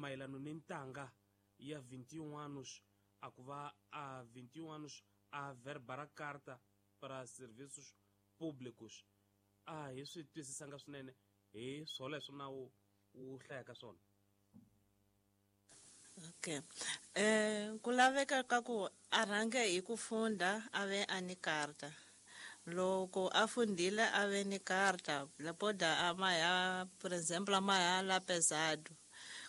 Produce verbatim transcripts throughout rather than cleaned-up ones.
mayelano ni ntanga ya vinte e um anos a ku va a vinte e um anos a verba carta para serviços públicos. A hi swi twisisanga swinene hi swoleswo nawu wu hlayaka swona. Okay. Eh ku laveka ka ku a rhange hi ku funda a ve a ni karta. Loko a fundile a ve ni karta, lapoda a maya, por exemplo, a maya la pesado.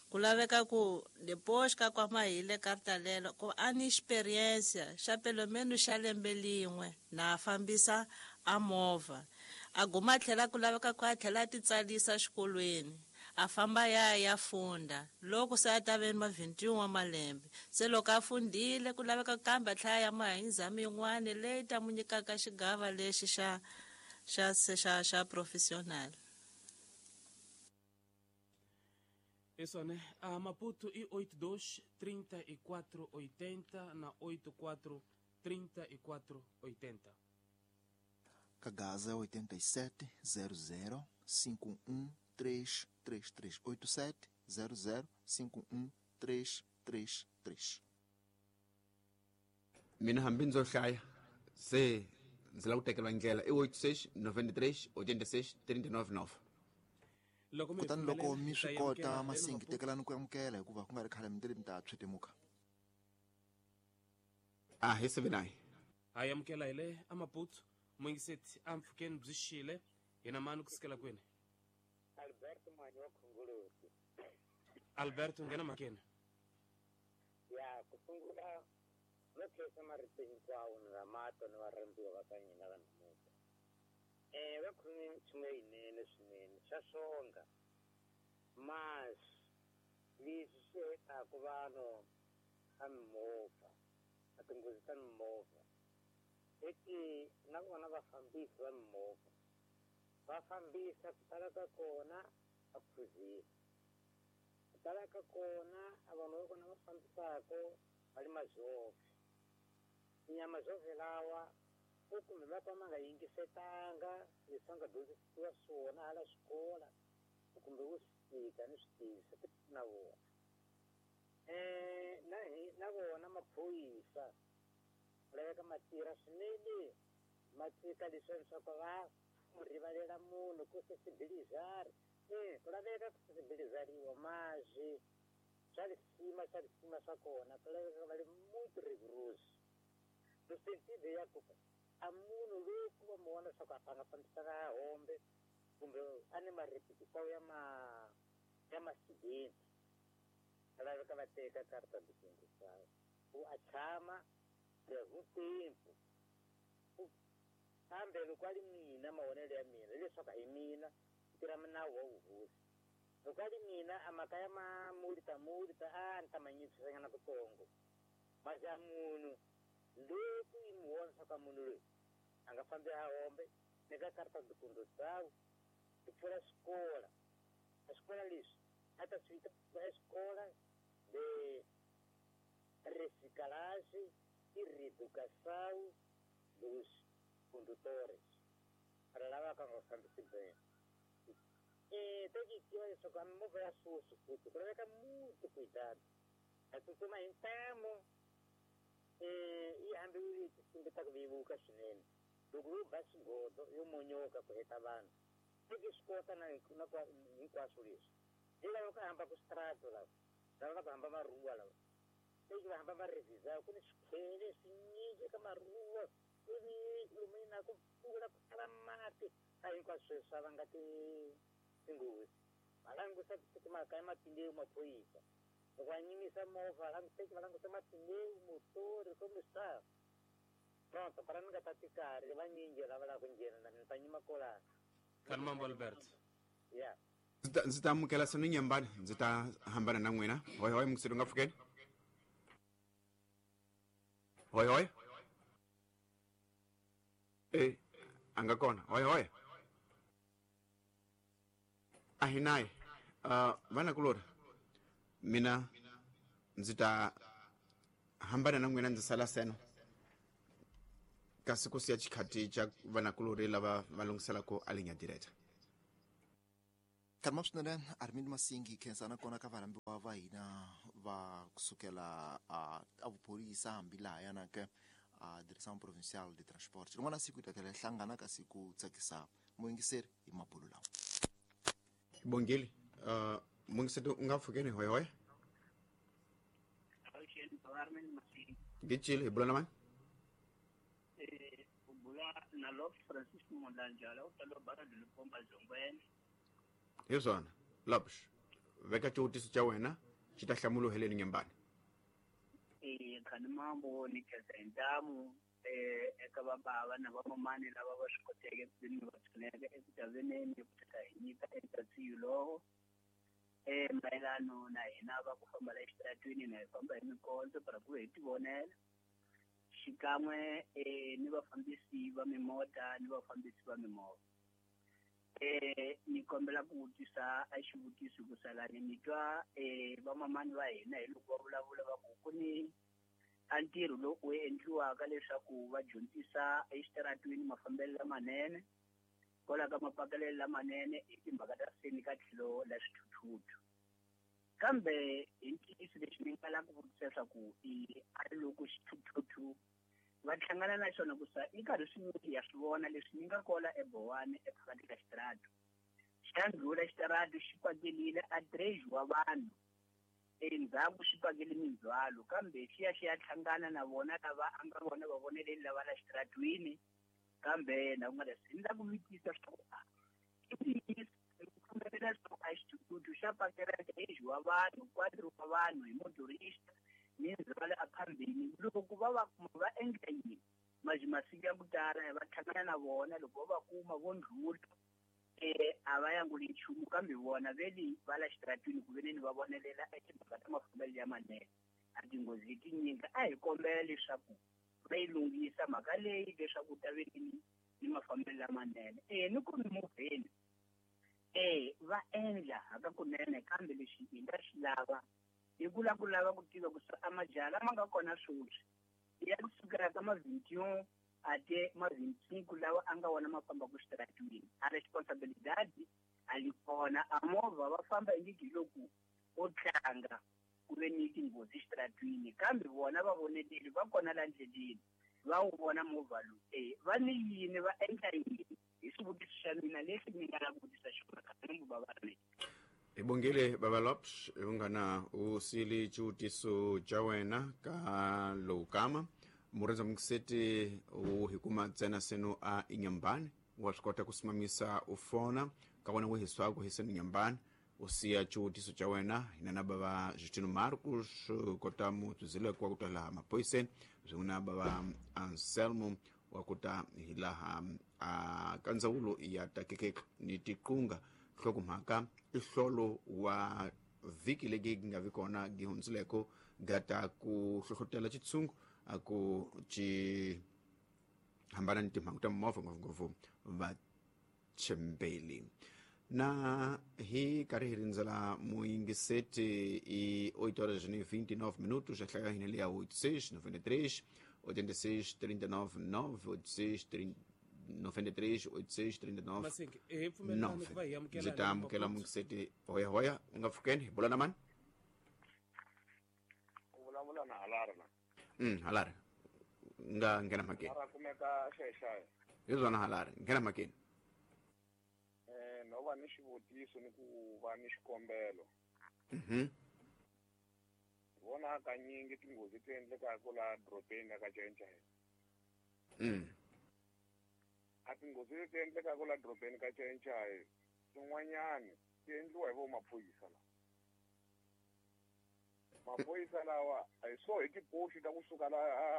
Ku laveka ku depois ka kwa mahile karta lelo ku a ni experiência xa pelo menos xa lembe lin'we na fambisa a movha. A guma tlhela ku laveka ku a tlhela a titsalisa xikolweni. A famba ya ya funda loko se a ta ve ma vinte e um wa malembe se loko a fundile ku laveka kambe a tlhela ya mahinzami yin'wana leyi ta mu nyikaka xigava lexi xa xa xa xa professional. Isso, né? A Maputo e oito dois, trinta e quatro, oitenta na oito quatro, trinta e quatro, oitenta. Kagaza oitenta e sete, zero zero, cinco um três três três oito sete zero zero cinco um três três três. Mina hambi ndzo hlaya se ndzi lava ku tekeriwa ndlela i oito seis noventa e três oitenta e seis trinta e nove nove. Loko mi Kutani loko mi hi swi ta kota amukela masingi tekelani ku amukela hikuva ku nga ri khale mi tele mi ta tshwetemuka. A hi seven nine. Ha amukela hi le a Maputo muyingiseti a mpfhukeni byi xile hina mani kusukela kwini? Alberto Manyo Khongoloti. Alberto nghena makeni. Ya ku sungula no khensa marito hinkwawo ni ramato ni varhambiwa va ka hina va namuntlha. Eh va khome nchumu leyinene swinene xa swonga masi leswi swi hetaka vanhu a mimovha a tinghozi ta mimovha eti na vona vafambisi va mimovha va fambisa ku tala ka kona a khuzile ku tala ka kona a vanhu va kona va fambisaka va le mazove tinyama zove lawa ku kumbe va ka ma nga yingisetanga leswi va nga dyondzisiwa swona hala xikola kumbe wo swi fika ni swi tivisa na vona eh na hi na vona maphorisa ku laveka ma tirha swinene ma tshika leswiya leswaku va mu rivalela munhu ku sensibilizar eh ku laveka ku sensibilizariwa mazwi swa lisima swa lisima swa kona ku laveka va le muito rigoroso no sentido ya ku a munhu loyi ku va mu vona leswaku a nga fambisaka hombe kumbe a ni marepetisawu ya ma ya masidenti a laveka va teka karta de condução ku a tshama por tempo kambe loko a ri mina mavonelo ya mina hileswaku a hi mina ku tirha nawu wa vuhosi loko a ri mina a mhaka ya ma multa multa a ni ta ma nyikisanyana kutsongo masi a munhu loko yi mu vona leswaku a munhu loyi a nga fambi a hombe nyika karta de condução ku pfula xikola a xikola leswi a ta swi vita escola de reciclagem e reeducação dos condutores para lava ka nga fambisi bem e tem que tiva leswaku a mimovha ya susu futhi ku laveka muito cuidado a tsutsuma hi ntamu eh yi hambi yi tinsimbi ta ku vevuka swinene loko yo ba xigodo yo monyoka ku heta vanhu teki swi kota na na hinkwaswo leswi hi lava ku hamba ku strato lava lava va ku hamba maruwa lava teki va hamba va revisa ku ni swikhwele swinyingi ka maruwa ku ni lomu na ku pfula ku tala mati a hinkwaswo sweswi swa vanga ti tinghozi va langusa timhaka ya mapindewu maphorisa loko va nyimisa movha languteki va langusa mapindewu motori kumbe swa pronto para ni nga ta tikari vanyingi lava lava ku nghena na ni ta nyima kolana Kani mambo Alberto ya ndzi ta amukela sanu nyambani ndzi ta hambana na n'wina hoy hoy mukiseri nga pfukeni hoy hoy e a nga kona hoy hoy a hi naye uh, vanakulori mina ndzi ta hambana na n'wina ndzi sala seno kasi ku siya xikhati xa vanakulori lava va lunghiselaka a linya direta. Tama swinene Armin Masingi khensana kona ka varhambiwa va hina va kusukela a a vuphorisa hambi lahayana ke a Direção Provincial de Transporte. Rin'wana siku hi ta tlhela hi hlangana kasi ku tsakisa muyingiseri hi mabulo lawa. Bongile, uh, muyingiseri u nga pfukeni hoya hoya. Ngicile hi bula na mani? Eh ubula na Lop Francis Mondanjala u bara de Lupomba Zongweni. Hi swona, Lopsh, veka xivutiso xa wena xi ta hlamuriwa heleni nyembani. Eh khani mambo ni khensa hi ntamu eh eka vabava na vamamani lava va swi koteke ku veni va pfuneka eku taveneni ku ta hi nyika eka lowo eh mayelano na hina va ku famba la exitaratweni na hi famba hi mikondzo para ku hi tivonela xikan'we eh ni vafambisi va mimota ni vafambisi va mimovha. Eh ni kombela ku vutisa a xivutiso ku salani ni twa eh vamamani va hina hi loko va vulavula va ku ku ni a ntirho lowu wu endliwaka leswaku va dyondzisa exitaratweni mafambelo lamanene kwala ka mapakelelo lamanene hi timhaka ta seni ka tlhelo la swithuthuthu. Kambe hi ntiyiso lexi ni nga lava ku vutisa leswaku i a loko xithuthuthu va hlangana na xona ku sa i karhi swinyingi ya swi vona leswi ni nga kola eBowane ephakathi ka xitaratu xa ndlhula xitaratu xi pakelile a dredge wa vanhu endzhaku xi pakele mindzhwalo kambe xi ya xi ya hlangana na vona lava a nga vona va voneleli lava la xitaratwini kambe na ku nga ri ni la ku vutisa leswaku i ntiyiso ku pfumelela leswaku a xithuthuthu xa pakela dredge wa vanhu quatro wa vanhu hi motorista mindzhwalo a phambili loko va va kuma va endla yini maji masiku ya ku tala va hlangana na vona loko va va kuma vo ndlhula eh a va yanguli nchumu kambe vona veli va la xitaratwini ku veneni va vonelela etimhaka ta mafambelo ya manene a tinghozi tinyingi a hi kombela leswaku va yi lunghisa mhaka leyi leswaku ta veneni ni mafambelo lamanene eh ni ku mimovheni eh va endla hakakunene kambe lexi hi nga xi lava hi ku lava ku lava ku tiva ku a majaha lama nga kona sweswi ya kusukela ka ma vingt-et-un ate ma vingt-cinq lawa a nga wona ma fambaka xitaratwini a responsabilidade a li kona a movha va famba ingiki hi loko o tlanga ku ve ni tinghozi xitaratwini kambe vona va voneleli va kona la ndleleni va wu vona movha lowu eh va ni yini va endla yini hi xivutiso xa mina lexi ni nga lava ku vutisa xona kambe va va ri. Hi bongile baba Lopsh, unghana u sili xivutiso xa wena ka lowu kama murhandza muyingiseti u hi kuma ntsena seno a inyambani wa swi kota ku simamisa u fona ka wena wihi swaku hi seno inyambani u siya xivutiso xa wena hina na bava Justino Marcos kota mutsuzileko wa ku ta laha maphoyiseni swin'we na bava Anselmo wa ku ta hi laha a ka ndzawulo ya takekeke ni tiqunga nhlokomhaka i hlolo wa vhiki leyi nga vi kona gi hundzileko gata ku hlohlotela xitshungu a ku ci hambana ni timhangu ta mimovha ngopfungopfu vachembeli. Na hi karhi hi rindzela muyingiseti i oito horas e vinte e nove minutos a hlaya hina leya oito seis noventa e três oitenta e seis trinta e nove nove oito seis noventa e três oito seis trinta e nove Masingi hi pfumelelani ku va hi amukela ndzi ta amukela muyingiseti hoya hoya u nga pfukeni hi bula na mani? U vulavula na Halari na. Mm Halari nga nghena mhakeni. Halari kumeka xaxayi. Hi swona Halari nghena mhakeni. Eh no va ni xivutiso ni ku va ni xikombelo. Mhm. Vona hakanyingi tinghozi ti endlekaka laha dorobeni ka Chainchain. Mm. A tinghozi leti endlekaka laha dorobeni ka Chainchain tin'wanyani ti endliwa hi vo maphorisa lawa. Maphorisa lawa a hi so hi tipoxi ta kusuka la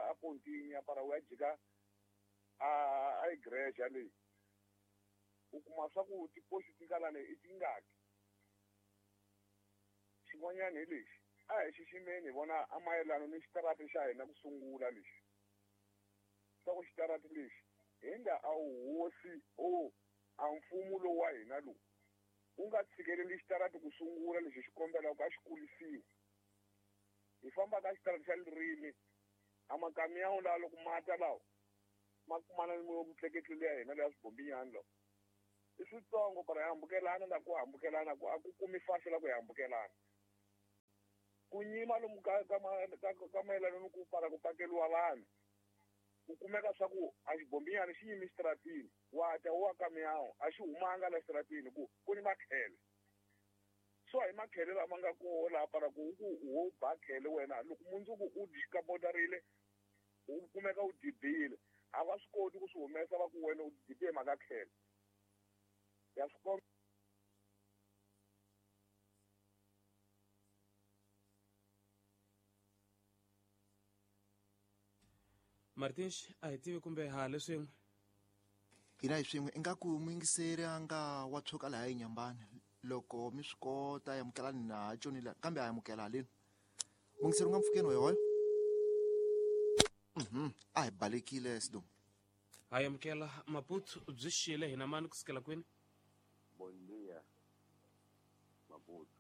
a pontini ya para u ya jika a a igreja leyi u kuma swa ku tipoxi ti nga lani i tingaki. Xin'wanyana hi lexi a hi xiximeni hi vona a mayelana ni xitarati xa hina ku sungula lexi swa ku xitarati lexi hi nga a wu hosi o a mfumo lowu wa hina lowu u nga tshikeleli xitarati ku sungula lexi xi kombelaka a xi kulisiwa. Hi famba ka xitarati xa ririmi a makamiyawu lawa loko mata lawa ma kumana ni mutleketli liya hina leya swibombinyani lawa I switsongo para hi hambukelana na ku hambukelana ku a ku kumi fasi la ku hi hambukelana. Ku nyima lomu ka ka ka mayelana ni ku para ku pakeliwa vanhu. Ku kumeka swa ku a xibombinyana xi yimi xitaratini, wa ta wa ka miyawu, a xi humanga la xitaratini ku ku ni makhele. So hi makhele lama nga koho laha para ku ku wo ba khele wena loko mundzuku u dikabodarile u kumeka u dibile a va swi koti ku swi humesa va ku wena u dibe hi mhaka khele. Ya swi komba. Martins a hi tivi kumbe ha leswin'we hina hi swin'we ingaku muyingiseri a nga wa tshuka laha eNyambani loko mi swi kota amukelani na tshonile kambe a amukela haleni muyingiseri u nga mpfukeni hoyohoyo. Mhm a hi balekile Sidumo. Ha amukela Maputo byi xile hina mani kusukela kwini? Bom dia Maputo.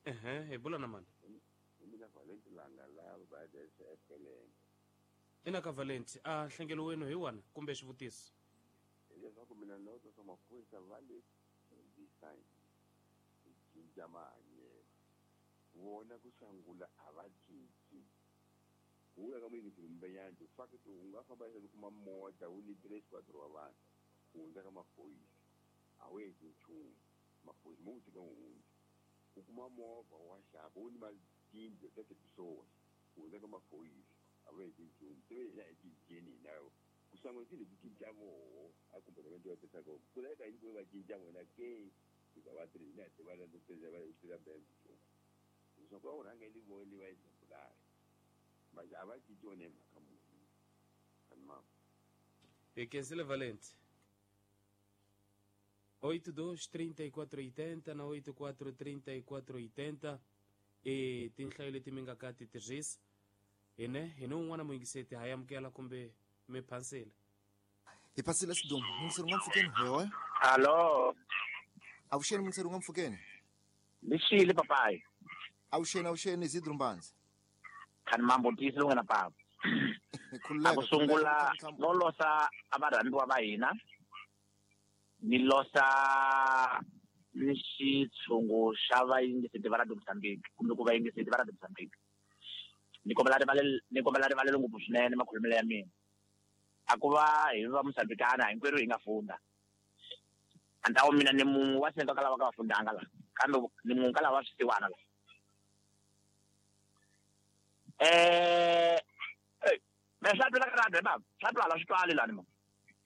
Ehe, hi bula na mani? Hi mina Valenti Langa la va S L M. Ina ka Valenti a nhlengelo wenu hi wana kumbe xivutiso? Leswaku mina loko swa maphorisa va le design cinca mahanyelo vona ku sangula a va cinci. Ku ya ka muyingiseri Mbenyani fact u nga famba leswaku kuma mota wu ni tres quatro wa vanhu ku hundza ka maphorisa a wu endli nchumu maphorisa mo wu tshika wu hundza u kuma movha wa xava wu ni matindlu ta tipisola ku hundza ka maphorisa a wu endli nchumu se hina hi cinceni hina ku sangula ti leti cinca voho a comportamento ya pesaka ku laveka yini ku va cinca vona ke hikuva va tirhi hina hi tiva la tirha va tirha bembe nchumu leswaku va wu rhangeli vo li va exemplary manje a va cinci wona hi mhaka muni kanimama. Hi khensile Valenti. Oito dois trinta e quatro oitenta na oito quatro trinta e quatro oitenta e tinhlayo leti mi nga ka ti tirhisa hine hine un'wana muyingiseti ha amukela kumbe mi phansile. Hi phasile Sidumo. Muyingiseri u nga mpfukeni hoyohoyo. Hallo. Avuxeni muyingiseri u nga mpfukeni. Lixile papayi. Avuxeni avuxeni Isidro Mbanzi. Khani mambo tiyisile u nga na papa. A ku sungula no losa a varhandziwa va hina ni losa ni xitshungu xa vayingiseti va Radio Mozambique kumbe ku vayingiseti va Radio Mozambique. Ni kombela rivalelo ni kombela rivalelo ngopfu swinene makhulumelo ya mina. A ku va hi va Mozambikana hinkwerhu hi nga funda. Antawo mina ni munhu wa senga ka lava ka va fundanga la kambe ni munhu ka lava swisiwana la. Eh me swa twala ka radio baba swa twala swi twali lani ma.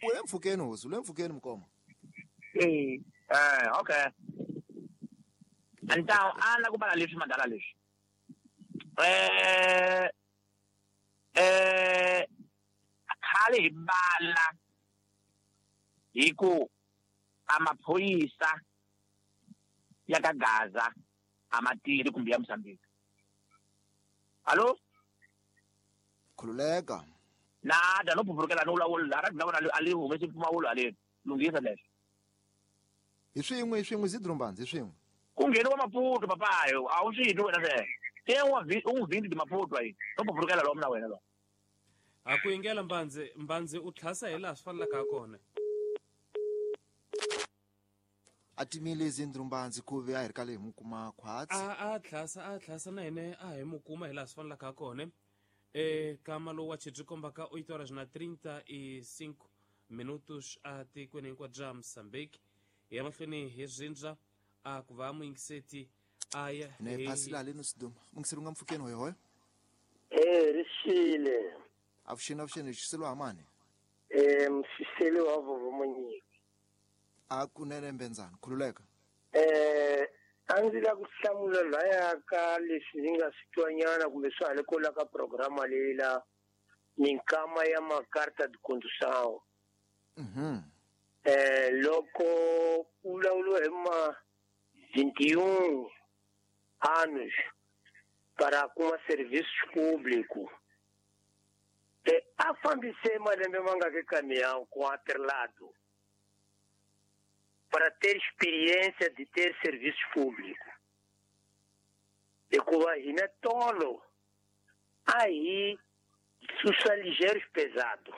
U le mpfhukeni hosi u le mpfhukeni mukoma. Eh eh okay. Antawo a la ku bala leswi madala leswi. Eh eh khale hi bala hi ku a maphorisa ya ka Gaza a ma tirhi kumbe ya Mozambique. Allo? Khululeka. Na da no phurukela no vulavula la ra vona a li humesi mpfumawulo haleni lunghisa leswi. Hi swin'we hi swin'we Isidro Mbanzi hi swin'we. Ku ngheniwa Maputo papayo a wu swi twi wena sweswo. Te wa u n'wi vhindi Maputo ayi no phurukela lomu na wena lo. A ku yingela Mbanzi Mbanzi u tlhasa hi laha swi fanelaka ha kona. A timile Isidro Mbanzi ku ve a hi ri ka le hi mu kuma khwatsi. A a tlhasa a tlhasa na hina a hi mu kuma hi laha swi fanelaka ha kona. E kama lowu wa xi kombaka oito horas na trinta e cinco minutos a tikweni hinkwabyo bya Mozambique. Hi ya mahlweni hi rindza a ku va muyingiseti a ya ne phasile haleni Sidumo. Muyingiseri u nga mpfhukeni hoyohoyo. Eh rixile. Avuxeni avuxeni xiselo ha mani? Eh msiselo wa vovo Monyiki. A kunene Mbenzani khululeka. Eh a ndzi la ku hlamula laya ka leswi ndzi nga swi twanyana kumbe swa ha le ko la ka programa leyi la minkama ya macarta de condução. Mhm. Eh loko ku vulavuriwa hi ma vinte e um anos para kuma serviços públicos. E a fambise malembe mangaki caminhão com atrelado para ter experiência de ter serviços públicos. Hikuva hina tolo a hi susa ligeiros pesado.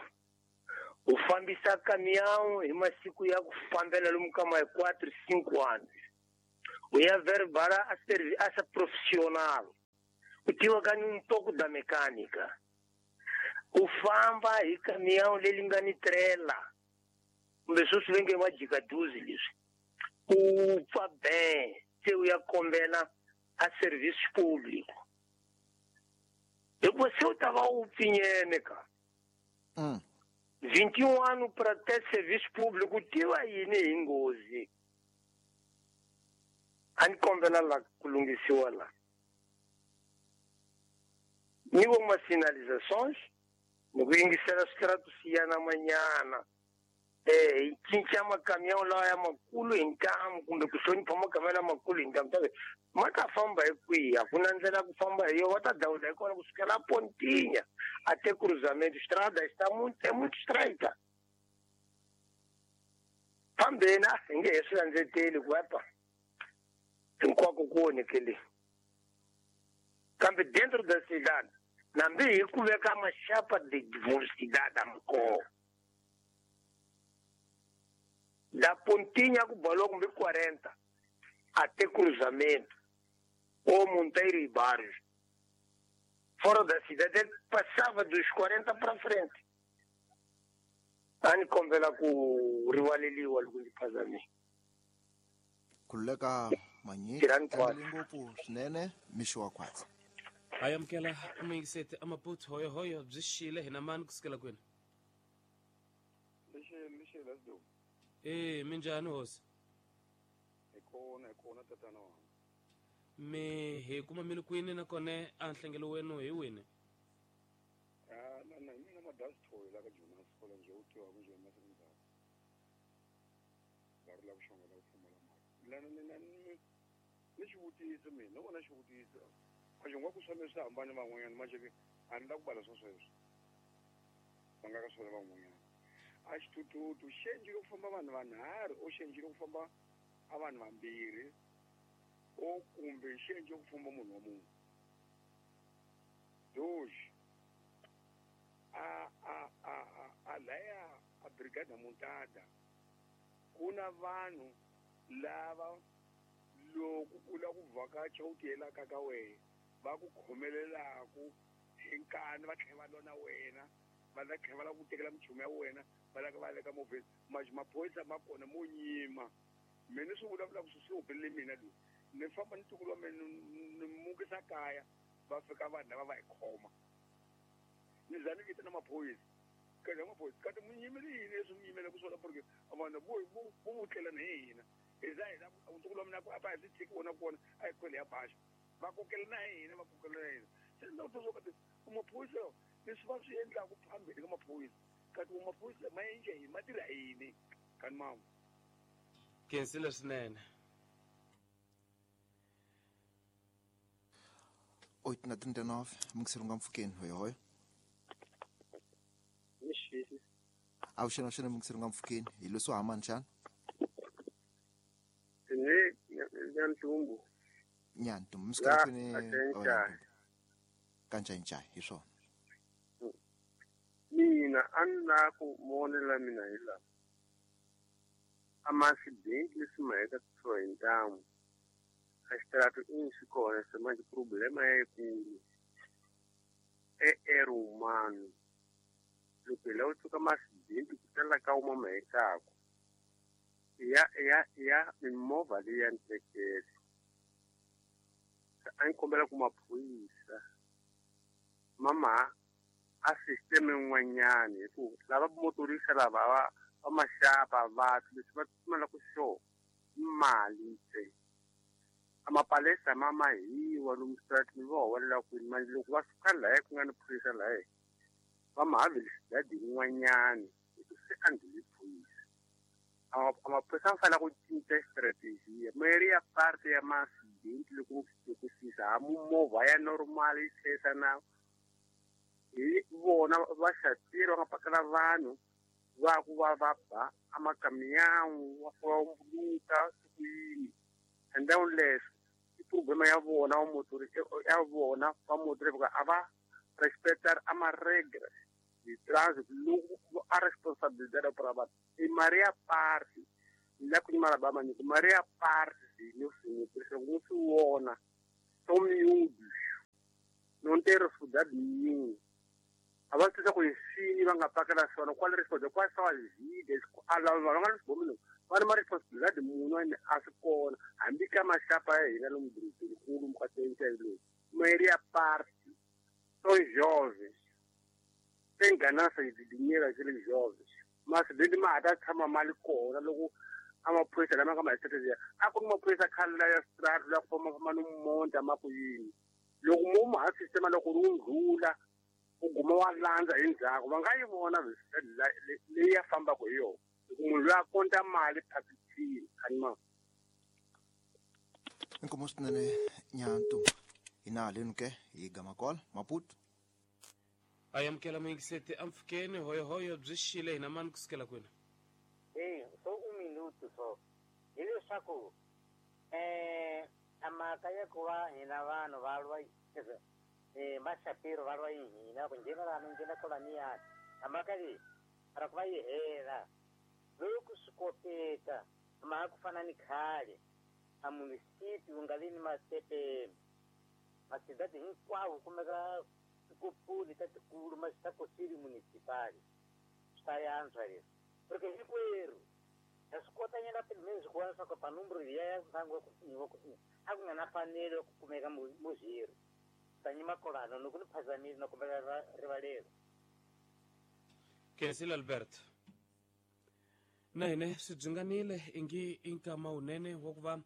U fambisa caminhão hi masiku ya ku fambela lomu ka ma quatro, cinco anos. U ya verbara a servi essa profissional. U tiva ka um pouco da mecânica. U famba hi caminhão leri nga ni trela. Kumbe sweswi va nge majika duze leswi. U pfa bem, se u ya kombela a serviço público. Hikuva se u ta va u pfinyene ka. Mm. vinte e um anos para ter serviço público, tiva yini hi nghozi. A ni kombela la ku lunghisiwa la. Ni uma sinalizações, ni ku yingisela switaratu siyana manyana. Eh, hi cinca macaminhão lawa ya makulu hi ntamu kumbe ku hlonipha macaminhão lamakulu hi ntamu tabe ma ta famba hi kwihi? A ku na ndlela ku famba hi yona, va ta dawula hi kona kusukela Pontinha até cruzamento. Estrada está muito, é muito estreita. Fambeni, a hi nge he swi landzeteli ku epa hinkwako ku onhekele. Kambe dentro da cidade, nambi hi ku veka maxapa de velocidade a kona. Da Pontinha ku balou kumbe quarenta até cruzamento ou Monteiro e Barros. Fora da cidade, ele passava dos quarenta para frente. A ni kombela ku rivaleliwa loko ndzi phazamile. Khululeka Manyiki, Tirhani kwatsi. tlangele ngopfu swinene mixo wa khwatsi. Ha amukela muyingiseti amaputu hoyohoyo byi xile hina mani kusukela kwini? Lexi lexi lesdo. Eh, minjhani hosi? Hi kona hi kona tatana wanga. Mi hi kuma mi ri kwini nakona a nhlengelo wenu hi wini? Ah, na na mina madasi thoyi la ka Jonas kola nje u tiva ku nje masiku ndzhaku. Va ri la ku xonga la ku pfumala mali. Lana ni na ni ni xivutiso mina, no vona xivutiso. A xi ku swa mina swi hambane van'wanyana manje ke a ni la ku bala swa sweswo. Va nga ka swona van'wanyana. A xithuthuthu xi endlile ku famba vanhu vanharhu o xi endlile ku famba a vanhu vambirhi o kumbe xi endlile ku famba munhu wa munhu. Dois, a a a a a laya a brigada montada ku na vanhu lava loko u lava ku vhakacha u tiyelaka ka wena va ku khomelelaku hi nkani va tlhela va lwa na wena va la tlhela va lava ku tekela minchumu ya wena va lava va le ka movheni manje maphorisa ma kona mo nyima. Mina ni swi vulavulaka swi swi humelele mina loyi ni famba ni ntukulu wa mina ni mukisa kaya va fika vanhu lava va hi khoma. Ni za ni vitana maphorisa ka maphorisa kati mi nyimele yini leswi mi yimelaka swona porque vanhu vo vo vo vutlelana hi hina hi za hi la ntukulu wa mina ku a va hi swi tshiki wona kona a hi khwele ya baxa va kokela na hina va kokela na hina. Se ni twa swo kati maphorisa leswi va swi endlaka phambili ka maphorisa kati maphorisa ma endla yini ma tirha yini kani mama. Khensile swinene. Oito na trinta e nove, muyingiseri u nga mpfhukeni hoyohoyo. Mixile. Avuxeni avuxeni muyingiseri u nga mpfhukeni hi leswo hamani xana? Ni Nyantumbu. Nyantumbu, mi sukela La, kwini? Kanchenchayi. Kanchenchayi, hi swona. Mina a ni la ku vonela mina hi laha. A masidenti leswi ma heta kusuhi hi ntamu. A xitaratu i swi kona se manje problema ya yikulu. E erro humano. Loko hi lava ku tshuka masidenti ku tala ka wuma ma hetaka. Ya ya ya mimovha leyi ya ntekelo. A ni kombela ku maphorisa mama a system yin'wanyani hi ku lava motorisa lava va va maxapa vanhu leswi va pfumalaka xo mali ntsena. A mapalesa ma mahiwa lomu switaratini va huwelela kwini manje loko va suka lahaya ku nga ni phorisa lahaya va ma haveli yin'wanyani hi ku se a ndlhuli phorisa. A maphorisa ma fanele ku cinca strategy mayeri ya parte ya masidenti loko loko fisa ha movha ya normal yi chayisa na hi vona va xatiri va nga pakela vanhu va ku va va ba a makamiyangu va fika va mbuluka siku yini. And then leswi i problema ya vona va motori ya vona va motori hikuva a va respecta a ma-regras de trânsito loko a responsabilidade para vanhu i Maria parte la ku nyimala ba manyiko Maria parte no senhor por isso wona são miúdos não tem responsabilidade nenhuma. A va tisa ku hi va nga pakela swona qual responsabilidade quais são as vidas a lava va nga swi vomi va ri ma responsabilidade munhu ene a swi kona hambi ka maxapa ya hina lomu dorobeni mukateni lowu Maria parte são jovens tem ganância de dinheiro aqueles jovens mas dentro ma ta tshama mali kona loko a maphorisa lama nga ma hetelela a ku ri maphorisa khale la ya strata la ku famba famba no monta ma ku yini loko mo ma ha sistema loko ri ndlula u guma wa landza hi ndzhaku va nga yi vona leyi ya fambaka hi yona loko munhu loyi a konta mali phakithini anima inkomo swinene nyantu hina haleni ke hi gamakola Maputo a amukela muyingiseti ampfukeni hoyohoyo byi xile hina mani kusukela kwini e so un minuto so hileswaku um a mhaka ya ku va hina vanhu va lwa eh maxapiro va lwa hina ku nghena lana nghena kolaniyani a mhaka leyi ra ku va yi hela loko swi koteka mhaka ku fana ni khale a munisipi wu nga vi ni masepeni masidadi hinkwawo kumeka tikopuli ta tikulu ma ta kosili municipal swi ta yantswa leswi porque hinkwerhu ha swi kota nyana pele swi kona swa ku panumbro liya ya ntlangu wa ku wa ku a ku nga na fanelo ya ku kumeka muzhiri tanyima kolano loko ni phazamile na kombela rivalelo Khensile Albert na hine swi byinganile ingi i nkama wunene wa ku va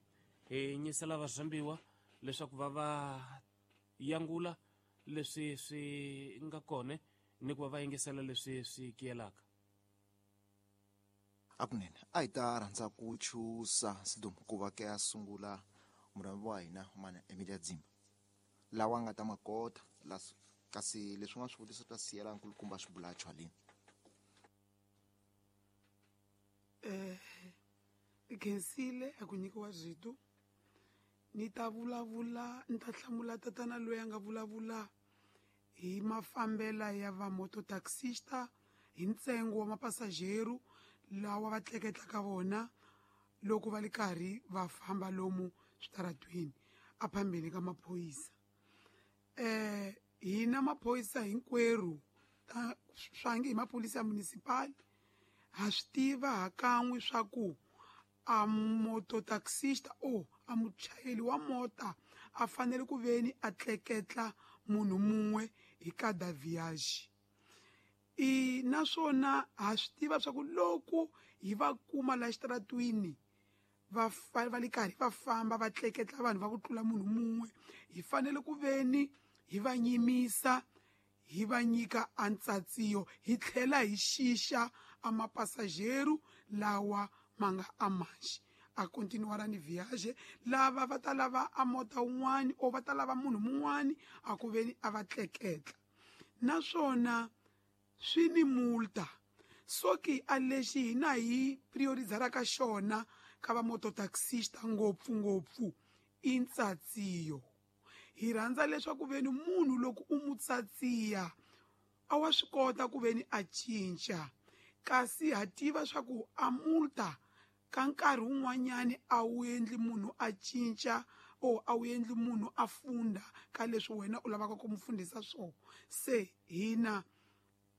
hi nyisela varhambiwa leswaku va va yangula leswi swi nga kona ni ku va va yingisela leswi swi kiyelaka akunene a hi ta rhandza ku chusa Sidum ku va ke a sungula murhambi wa hina mana Emilia Dzimba lawa nga ta makota kasi leswi nga swivutiso ta siyela nkulukumba swibulacho haleni eh Khensile a ku nyikiwa rito ni ta vulavula ni ta hlamula tatana loyi a nga vulavula hi mafambela ya va mototaxista hi ntsengo wa mapasajero lawa va tleketlaka vona loko va li karhi va famba lomu switaratweni a phambeni ka maphorisa eh hina maphorisa hinkwerhu ta swangi hi maphorisa ya municipal ha swi tiva hakan'we swa ku a mototaxista o a muchayeri wa mota a fanele ku veni a tleketla munhu mun'we hi kada viage i naswona ha swi tiva swa ku loko hi va kuma la xitaratwini va va li karhi va famba va tleketla vanhu va ku tlula munhu mun'we hi fanele ku veni hi va nyimisa hi va nyika antsatsiyo hi tlhela hi xixa a mapasajero lawa ma nga amanxi a continuara ni viage lava va ta lava a mota wun'wani o va ta lava munhu mun'wani a ku veni a va tleketla naswona swi ni multa soki a lexi hina hi priorizaraka xona ka va mototaxista ngopfungopfu i ntsatsiyo hi rhandza leswaku veni munhu loko u mu tsatsiya a wa swi kota ku veni a cinca kasi ha tiva swa ku a multa ka nkarhi wun'wanyani a wu endli munhu a cinca o a wu endli munhu a funda ka leswi wena u lavaka ku mu fundisa swona se hina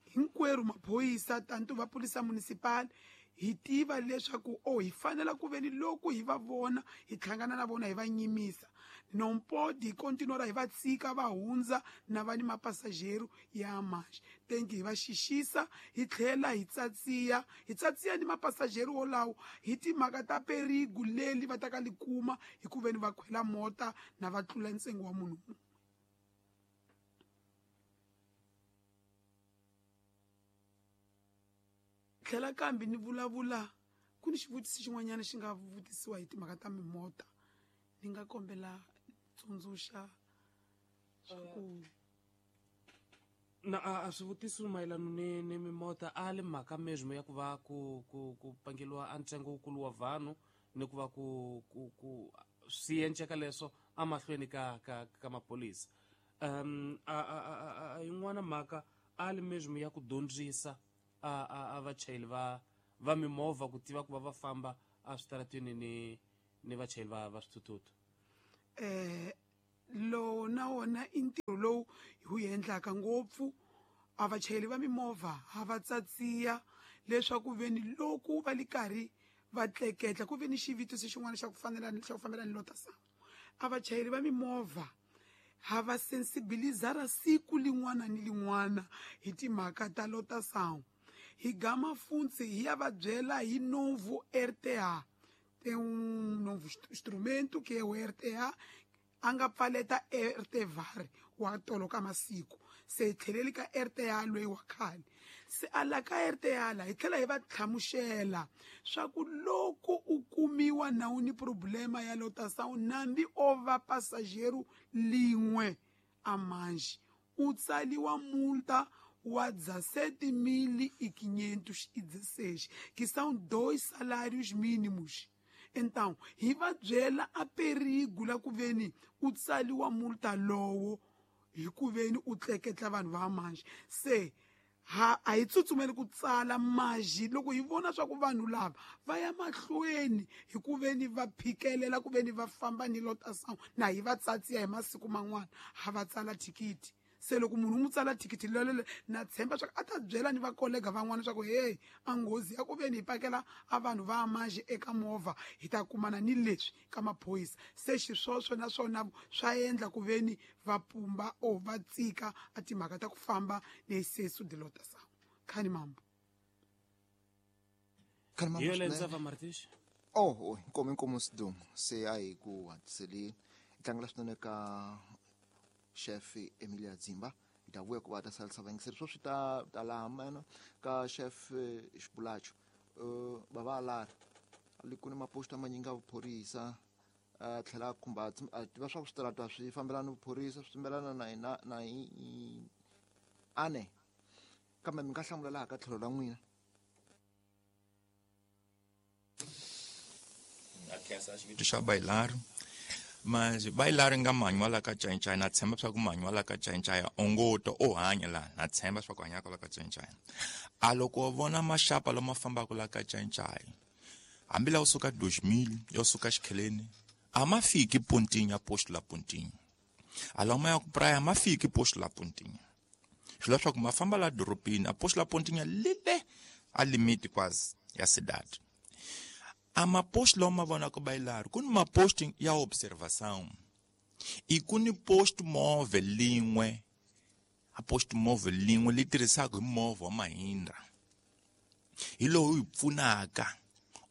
hinkwerhu maphorisa tanto va polisa municipal hi tiva leswaku o hi fanela ku veni loko hi va vona hi hlangana na vona hi va nyimisa nompodi hi kontinora hi va tshika va hundza na va ni mapasajero ya manxe tenki hi va xixisa hi tlhela hi tsatsiya hi tsatsiya ni mapasajero wolawo hi timhaka ta perigu leli va ta ka li kuma hi ku veni va khwela mota na va tlula ntsengo wa munhu mun'we tlhela kambe ni vulavula ku ni xivutiso xin'wanyana xi nga vutisiwa hi timhaka ta mimota ni nga kombela tsundzuxa swa ku na a swivutiso mayelana ni ni mimota a le mhaka mesmo ya ku va ku ku ku pangeliwa a ntsengo wukulu wa vanhu ni ku va ku ku ku swi enceka leswo amahlweni ka ka ka maphorisa um a a a yin'wana mhaka ali mesmo ya ku dyondzisa a a a vachayeri va va mimovha ku tiva ku va va famba a switarateni ni ni vachayeri va va swithuthuthu? Eh lowu na wona i ntirho lowu hi wu endlaka ngopfu. A vachayeri va mimovha ha va tsatsiya leswaku veni loko va li karhi va tleketla ku ve ni xivitiso xin'wana xa ku fanela xa ku fambelana ni lotação. A vachayeri va mimovha ha va sensibilizara siku lin'wana ni lin'wana hi timhaka ta lotação. Hi gama funtsi hi ya va byela hi novo R T A. Tem um novo instrumento que é o R T A, a nga pfaleta R T V A R wa tolo ka masiku. Se hi tlheleli ka R T A loyi wa khale. Se a la ka R T A la hi tlhela hi va hlamusela swa ku loko u kumiwa na u ni problema ya lotação nambi o va passageiro lin'we a manji u tsaliwa multa wa dezessete mil e quinhentos e dezesseis, que são dois salários mínimos. Então, hi va byela a perigo la ku veni u tsaliwa multa lowo hi ku veni u tleketla vanhu va manji. Se ha a hi tsutsumeli ku tsala maji loko hi vona swa ku vanhu lava va ya mahlweni hi ku veni va phikelela ku veni va famba ni lotação na hi va tsatsiya hi masiku man'wana ha va tsala thikithi. Se loko munhu u n'wi tsala thikithi lolelo na tshemba swa ku a ta byela ni vakolega van'wana swa ku hey a nghozi ya ku veni hi pakela a vanhu va manji eka movha hi ta kumana ni leswi ka maphorisa. Se xiswoswo naswona swa endla ku veni va pumba o va tsika a timhaka ta ku famba ni excesso de lotação. Khani mambo. Khani mambo. Hi yona Ntsava Martins. Oh, oh, inkomo inkomo sidumo se a hi ku hatliseleni tlangela swinene ka Chef Emilia Dzimba. Hi ta vuya ku va ta salisa vayingiseri swo swi ta ta laha mena ka Chef Xibulacho. Uh, va va lari li ku ni maposta manyingi ya vuphorisa a tlhela a khumba a tiva swa ku switarata swi fambelana ni vuphorisa swi fambelana na hina na hi ane kambe mi nga hlamula laha ka tlhelo ra n'wina. A khensa xivito xa Bailaro. Mas Bailaro nga manywa la ka Chainchaya na tshemba swa ku manywa la ka Chainchaya ongoto o hanya la na tshemba swa ku hanya la ka Chainchaya. A loko o vona maxapa lama fambaka la ka Chainchaya hambi la u suka dois mil yo suka Xikheleni a ma fiki Pontinha posto la Pontinha. A lama ya ku praia ma fiki posto la Pontinha. Swi leswaku ma famba la dorobeni a posto la Pontinha lile a limite quase ya cidade. A maposto lá uma vona ko Bailaro ku ni maposto ya observação e ku ni posto móvel lin'we a posto móvel lin'we li tirhisaka hi movha wa Mahindra hi lowu hi pfunaka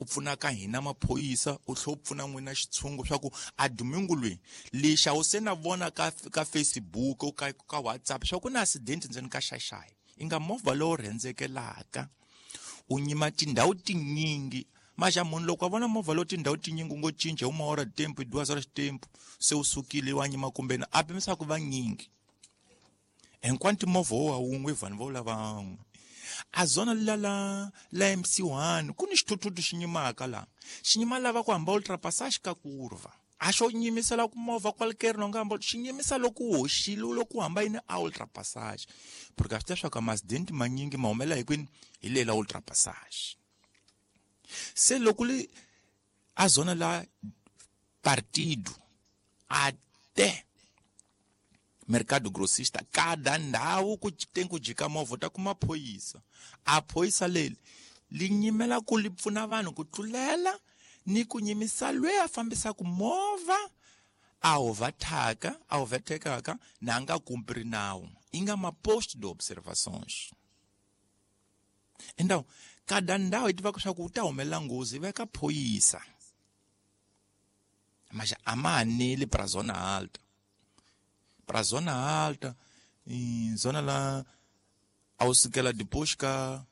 u pfunaka hina maphorisa u tlhela u pfuna n'wina xitshungu swa ku a domingo loyi lexa u se na vona ka ka Facebook ka ka WhatsApp swa ku na accident ndzeni ka xaxayi i nga movha lowu rhendzekelaka u nyima tindhawu tinyingi. Mas já munhu loko a vona movha lowu tindhawu tinyingi u ngo cinca uma hora de tempo duas horas de tempo se u sukile wa nyima kumbe na a pimisa ku va nyingi enquanto movha wo wun'we vanhu vo lava van'we a zona la la la M C one ku ni xithuthuthu xi nyimaka la xi nyima lava ku hamba ultrapassage ka kurva a xo nyimisela ku movha qualquer no nga hamba xi nyimisa loko u hoxile loko u hamba yini a ultrapassage porque a swi tiva swa ku accident manyingi ma humelela hi kwini hi lela ultrapassage. Se loko li a zona la partido até mercado grossista cada ndhawu ku tem ku jika movha ta kuma phorisa a phorisa leli li nyimela ku li pfuna vanhu ku tlulela ni ku nyimisa loyi a fambisaka movha a overtaka a overtekaka na nga kumpri nawu i nga maposto de observações. Então cada ndhawu yi tivaka swa ku u ta humelela nghozi veka phorisa mas a ma aneli pra zona alta pra zona alta e zona lá ao sukela depois ka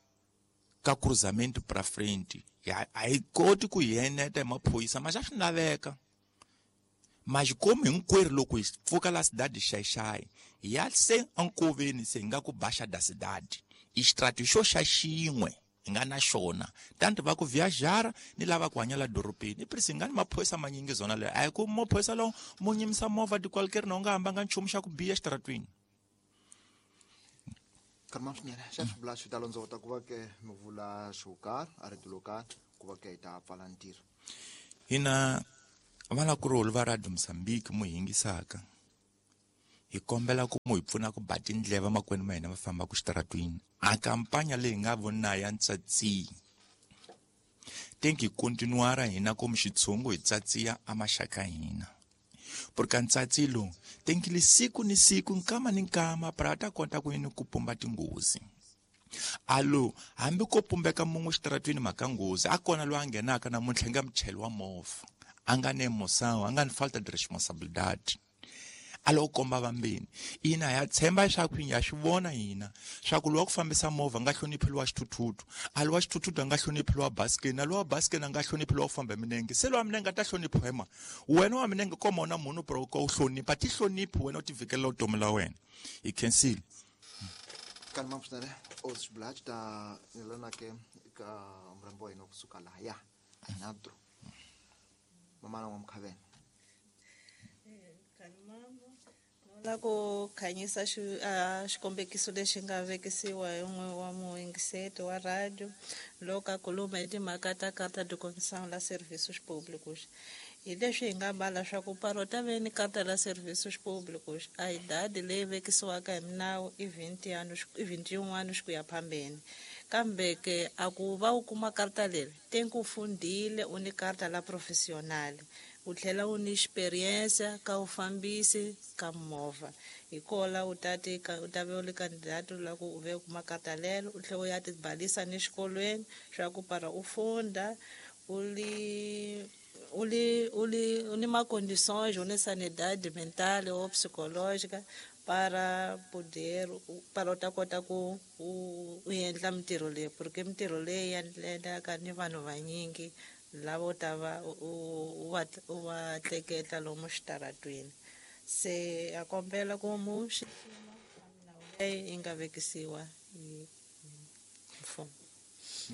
ka cruzamento pra frente a yi koti ku yeneta hi maphorisa mas a swi laveka. Mas como hinkwerhu loko hi pfuka la cidade xaxayi hi ya se enkoveni se hi nga ku baxa da cidade i xitrati xo xa xin'we hi nga na xona tanto va ku viajara ni lava ku hanya la dorobeni i prisi nga ni maphorisa manyingi zona leyo a hi ku maphorisa lowo mo nyimisa movha ti qualquer na u nga hambanga nchumu xa ku biha exitaratwini. Karma swinene xa swivula swi ta londzota ku va ke mi vula xo karhi a rito lo karhi ku va ke hi ta pfala ntirho. Hina valakurulu va Radio Mozambique mu hingisaka hi kombela ku mu hi pfuna ku ba tindleva makwenu ma hina va fambaka xitaratwini a kampanya leyi nga vona ya ntsatsi tenki continuara hina komu xitshungu hi tsatsiya a maxaka hina porque ntsatsi lowu tenki li siku ni siku nkama ni nkama para ta kota ku yini ku pumba tinghozi alo hambi ko pumbeka mun'we xitaratwini mhaka nghozi a kona loyi a nghenaka namuntlha nga muchayeri wa movha a nga ni emoção a nga ni falta de responsabilidade alo komba vambeni ina ya tshemba leswaku ya swi vona hina swa ku lowa ku fambisa movha nga hloniphi lowa xithuthuthu a lowa xithuthuthu a nga hloniphi lowa basikeni a lowa basikeni a nga hloniphi lowa ku famba hi milenge se lowa milenge a ta hloniphiwa hi mani wena wa milenge koma na munhu pero ka u hlonipha ti hloniphi wena u ti vikelela vutomi la wena hi khensile. Kanma swinene o swi ta lana ke ka murhambi wa hina kusuka lahaya natro mamana wa Mkhaveni. La ku khanyisa xikombekiso lexi nga vekisiwa hi un'we wa muyingiseti wa radio loko a khuluma hi timhaka ta carta de condução la serviços públicos. Hi leswi hi nga bala swa ku paro ta ve ni carta la serviços públicos a idade leyi vekisiwaka hi minawu i vinte anos i vinte e um anos ku ya phambeni kambe ke a ku va u kuma carta leri tem ku fundile u ni carta la profissional u tlhela u ni experiência ka u fambisi ka movha hi kola u ta ti u ta ve u li candidato la ku u ve u kuma carta lelo u tlhela u ya tibalisa ni xikolweni swa ku para u funda u li u li u li u ni ma condições u ni sanidade mental ou psicológica para poder para u ta kota ku u u endla mintirho leyi porque mintirho leyi endlaka ni vanhu vanyingi lavo ta va u va u va tleketla lomu xitaratwini se a kombela ku mu xixima milawu leyi yi nga vekisiwa hi mfumo.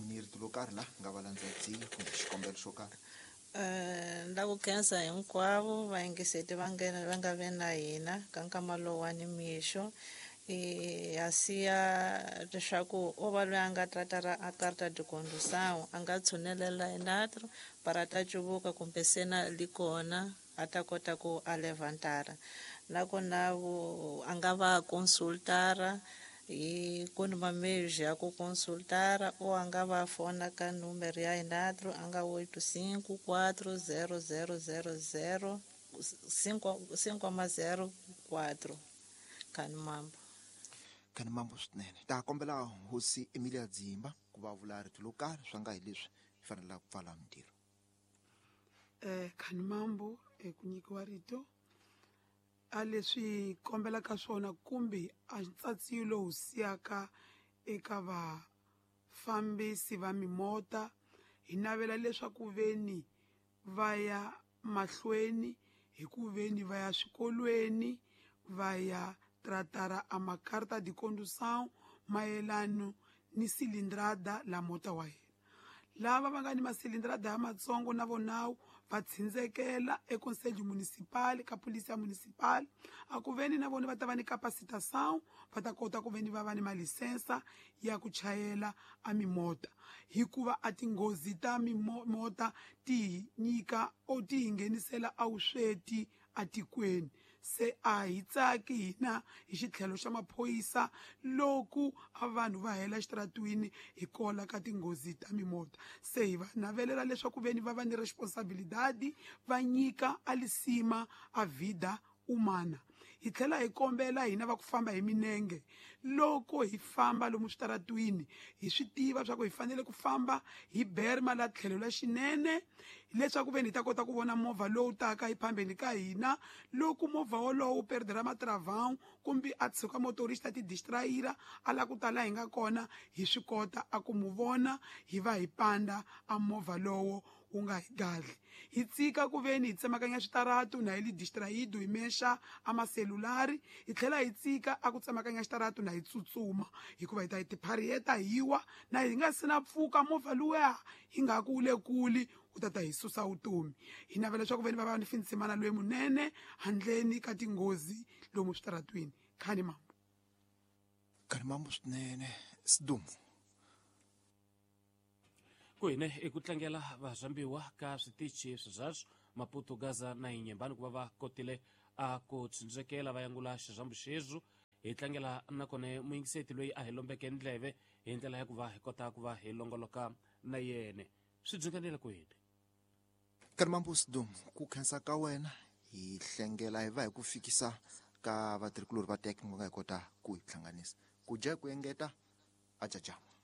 Ni rito lo karhi la nga va landzatsi kumbe xikombelo xo karhi. La ku khensa hinkwavo vayingiseti va nga va nga ve na hina ka nkama lowu wa nimixo ya siya leswaku o va loyi a nga tratara a carta de condução a nga tshunelela enatro para ta cuvuka kumbe sena li kona a ta kota ku a levantara nakona a nga va consultara hi ku ni mameios ya ku consultara ou a nga va fona ka número ya enatro a nga oito cinco quatro zero zero zero zero cinco cinco zero quatro Kani mambo. Kani mambo swinene ta kombela hosi Emilia Dzimba ku va vula rito lo karhi swa nga hi leswi hi fanelaka ku pfala mintirho. Eh kani mambo ku nyikiwa rito a leswi kombelaka swona kumbe a ntsatsi lowu siyaka eka vafambisi va mimota hi navela leswaku veni va ya mahlweni hi ku veni va ya swikolweni va ya tratara a macarta de condução mayelano ni cilindrada la mota wa yena lava va nga ni masilindrada ya matsongo na vonawu va tsindzekela econselho municipal ka polícia municipal a ku veni na vona va ta va ni capacitação va ta kota ku veni va va ni malisensa ya ku chayela a mimota hikuva a tinghozi ta mimota ti nyika o ti hi nghenisela a vusweti atikweni se a hi tsaki hina hi xitlhelo xa maphorisa loko a vanhu va hela xitaratwini hi kola ka tinghozi ta mimota se hi va navelela leswaku veni va va ni responsabilidade va nyika a lisima a vida humana hi tlhela hi kombela hina va ku famba hi minenge loko hi famba lomu switaratwini hi swi tiva swa ku hi fanele ku famba hi berma la tlhelo la xinene leswaku veni hi ta kota ku vona movha lowu taka hi phambeni ka hina loko movha wolowo wu perdera matravão kumbe a tshuka motorista ti distraira a la ku tala hi nga kona hi swi kota a ku mu vona hi va hi panda a movha lowo wu nga hi gadli hi tsika ku veni hi tsemakanya switaratu na hi li distraído hi mexa a maselulari hi tlhela hi tsika a ku tsemakanya xitaratu na hi tsutsuma hikuva hi ta hi tiphariyeta hi wa na hi nga si na pfuka movha luya hi nga ku le kule u ta ta hi susa vutomi hi navela leswaku veni va va ni fintsimana loyi munene handleni ka tinghozi lomu switaratwini khani mambo. Kanimambo swinene Sidumo. Ku hine i ku tlangela varhambiwa ka switichi sweswo Maputo, Gaza na Inhambane ku va va kotile a ku tshundzekela va yangula xirhambo xexo. Hi tlangela nakona muyingiseti loyi a hi lombeke ndleve hi ndlela ya ku va hi kota ku va hi longoloka na yene. Swi byinganela ku hine. Kanimambo Sidumo, ku khensa ka wena hi hlengela hi va hi ku fikisa ka vatirhikulori va teke nga hi kota ku hi hlanganisa. Ku dya ku engeta a jajama.